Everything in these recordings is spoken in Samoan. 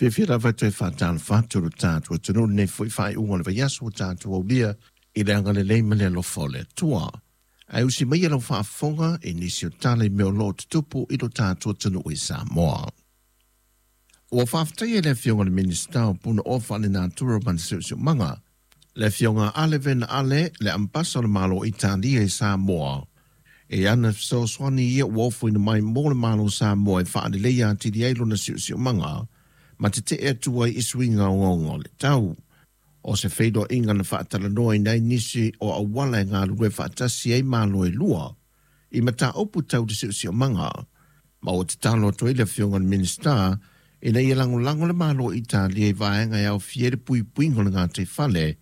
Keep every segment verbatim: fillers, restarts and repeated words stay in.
Fiafia lava e toe faatalofa atu i lo tatou atunuu i lenei foi faaiuga o le vaiaso ua tatou aulia i le agalelei ma le alofa o le Atua. Ae usi maia lau faafofoga i nisi o tala i mea o lo o tutupu i lo tatou atunuu i Samoa. Ua faafetaia e le Afioga i le Minisita o Punaoa Faalenatura ma le Siosiomaga, le Afioga Ale Vena Ale, le Ambasa o le Malo Italia i Samoa, e ana fesoasoani ia ua ofoina mai mo le Malo o Samoa e faaleleia atili ai lona siosiomaga ma tetee atu ai i suiga ogaoga o le tau. O se feiloaiga na faatalanoaina ai nisi o auala e galulue faatasi ai Malo e lua i mataupu tau le siosiomaga, ma ua tatalo atu ai le Afioga i le Minisita ina ia lagolago le Malo o Italia i vaega e aofia ai le puipuiga o le gataifale,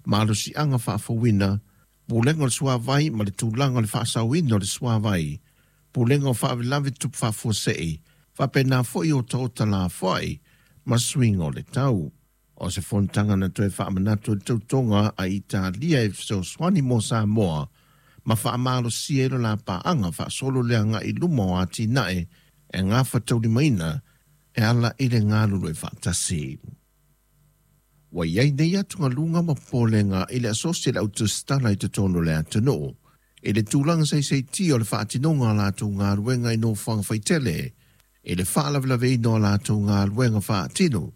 malosiaga faafouina, pulega o le suavai ma le tulaga o le faasaoina o le suavai, pulega o faalavelave tutupu faafuasei, faapena foi otaota lafoai ma suiga o le tau. O se fonotaga na toe faamanatu ai le tautoga a Italia e fesoasoani mo Samoa ma faamalosia ai le la paaga faasolo le agai i luma o atinae e gafataulimaina e ala i le galulue faatasi. Ua i ai nei atugaluga ma popolega i le asosi a le au tusitala i totonu o le atunuu i le tulaga saisaitia o le faatinoga o a latou galuega i nofoaga faitele i le faalavelaveina o a latou galuega faatino,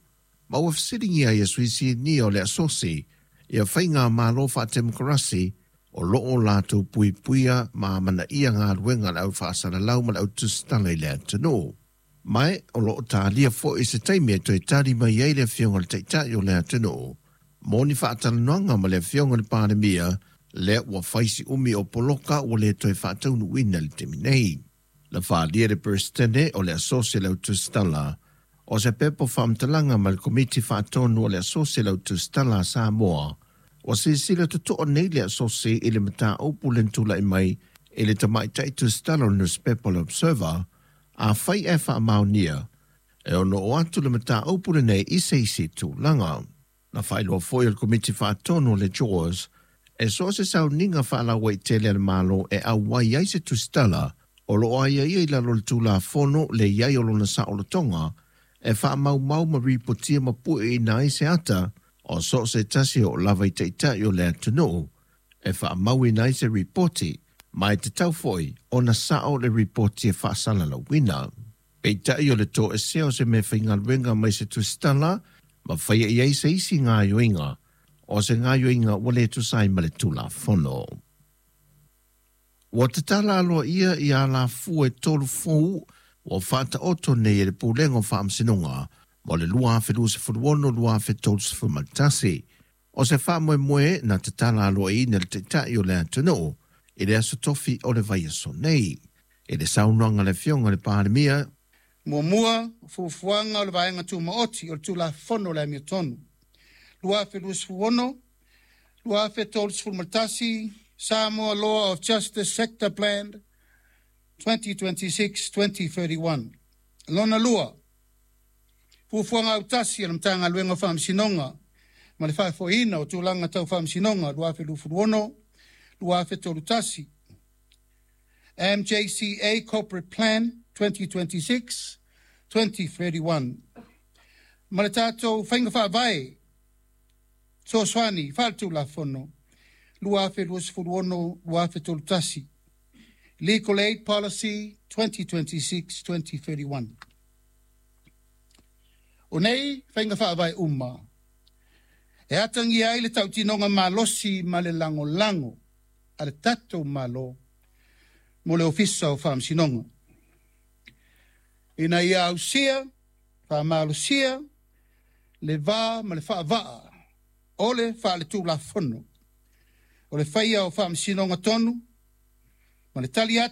ma ua fesiligia ai e sui sinia o le asosi ia faigamalo faatemokarasi o lo o latou puipuia ma amanaia galuega a le au faasalalau ma le au tusitala i le atunuu. Ma o lo o talia foi se taimi e toe tali mai ai le Afioga i le Taitai o le atunuu mo ni faatalanoaga ma le Afioga i le Palemia, lea ua fai si umi o poloka ua le toe faataunuuina i le taimi nei. Na faaalia e le Peresetene o le Asosi a le Au Tusitala o se pepa faamatalaga mai le Komiti Faatonu o le Asosi a le Au Tusitala a Samoa, ua silasila totoa nei le asosi i le mataupu lea na tulai mai i le tamaitai tusitala o le nusipepa o le Observer, afai ae faamaonia, e ono oo atu le mataupu lenei i se isi tulaga. Na faailoa foi e le Komiti Faatonu o le JAWS, e so o se sauniga faalauaitele a le Malo e auai ai se tusitala o lo o aiaia i lalo o le Tulafono le i ai o lona saolotoga e faamaumau ma ripotia ma pueina ai se ata o so o se tasi e oo lava i taitai o le atunuu e faamauina ai se ripoti, ma e tatau foi ona sao le ripoti e faasalalauina. Peitai o le toesea o se meafaigaluega mai se tusitala ma faia i ai se isi gaoioiga, o se gaoioiga ua le tusa ai ma le Tulafono. Ua tatala aloaia ia alafua e tolu fou ua faataoto nei e le Pulega o Faamasinoga mo le lua afe luasefulu ono lua afe tolusefulu ma le tasi. O se faamoemoe na tatala aloaiaina e le Taitai o le atunuu i le aso Tofi o le vaiaso nei. I le saunoaga a le Afioga i le Palemia, Muamua, fuafuaga o le Vaega Tumaoti o le Tulafono o le Amiotonu, lua afe luasefulu ono, lua afe tolusefulu ma le tasi, Samoa Law of Justice Sector Plan twenty twenty-six twenty thirty-one. Lona lua, fuafuaga autasi a le Matagaluega o Faamasinoga ma le Faafoeina o Tulaga Tau Faamasinoga lua afe luasefulu ono, lua afe tolusefulu tasi, M J C A Corporate Plan twenty twenty-six twenty thirty-one. Ma le tatou faiga faavae fesoasoani faaletulafono lua afe luasefulu ono, lua afe tolusefulu tasi, Legal Aid Policy twenty twenty-six twenty thirty-one. O nei faiga faavae uma e atagia ai le tautinoga malosi ma le lagolago a le tatou Malo mo le Ofisa o Faamasinoga, ina ia ausia faamalosia le va ma le faavaa o le faaletulafono o le faia o faamasinoga tonu ma le tali atu